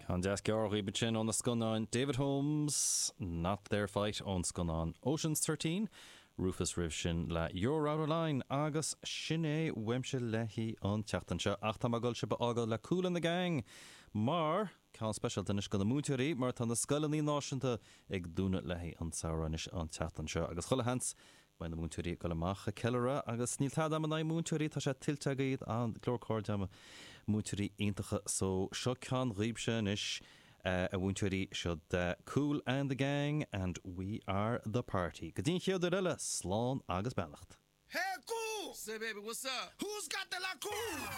Ceann deas gearr dhaoibh ansin ó na scannáin David Holmes, Not Their Fight ón scannán Ocean's 13, Rufus roimh sin le You're Out of Line agus sin é uaimse le haghaidh an tseachtain seo ach tá mé ag dul sibh a fhágáil le Kool and the Gang mar ceann speisialta anois do na múinteoirí mar tá na scoileanna náisiúnta ag dúnadh le haghaidh an tsamhraidh anois an tseachtain seo agus chuile sheans Beidh na múinteoirí ag dul amach ag ceiliúradh agus níl tada agam in aghaidh múinteoirí, tá sé tuillte agaibh, go leor cairde agam, múinteoirí iontacha so seo ceann dhaoibhse anois a mhúinteoirí, seo Kool and the Gang and We Are The Party. Go dtí an chéad uair eile, slán agus beannacht. Hey, Kool! Say, baby, what's up? Who's got the la cool?